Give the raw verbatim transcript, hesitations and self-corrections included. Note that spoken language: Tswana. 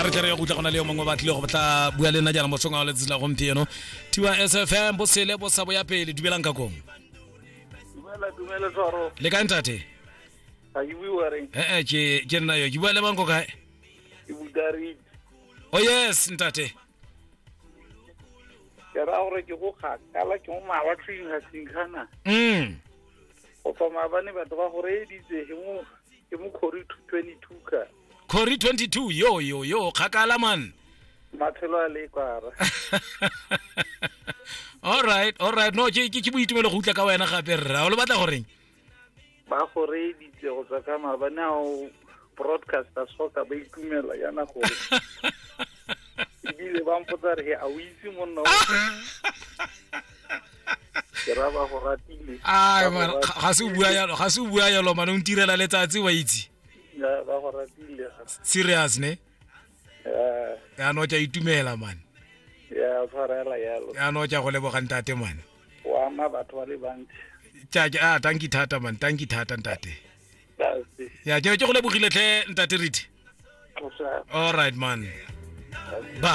A re tle re ye go utlwa go na le yo mongwe ba tlile go tla bua le nna jaana mosong wa letsatsi la gompieno. Tiwa S F M bosele bo sa bo ya pele, dumelang ka kong. Dumela, dumela Tshwaro. Le kae ntate? Ga ke bue wa reng? Eh eh ke ke nna yo, ke bua le mang ko kae? Ke Budariti. Oh yes ntate. Ke ra gore ke go kgakala ke mo mawatleng ga Sinkana. Mm. Go tswa maabane batho ba go reeditse ke mo ke mo Khori twenty-two ka. Khori twenty-two yo yo yo kgakala man. Matshelo a le kwara. All right, all right. No ke ke boitumelo go utlwa ka wena gape rra. O le batla goreng? Ba go reeditse go tswa ka maabane a o broadcaster soka ba itumela yana gore. Ebile ba mpotsa re a o itse monna o. Ke ra ba go ratile. Ai man, ga se o bua yalo, ga se o bua yalo man, o ntirela letsatsi wa itse. Ya ba go ratile. Serious ne? Ya. Ya no tja itumela man. Ya tshwarela yalo. Ya no tja go leboga ntate man. Wa ama batho ba le bantsi. Tja ah thank you thata man, thank you thata ntate. Ya ke ke go lebogile tlhe ntate Riti. All right man. Ba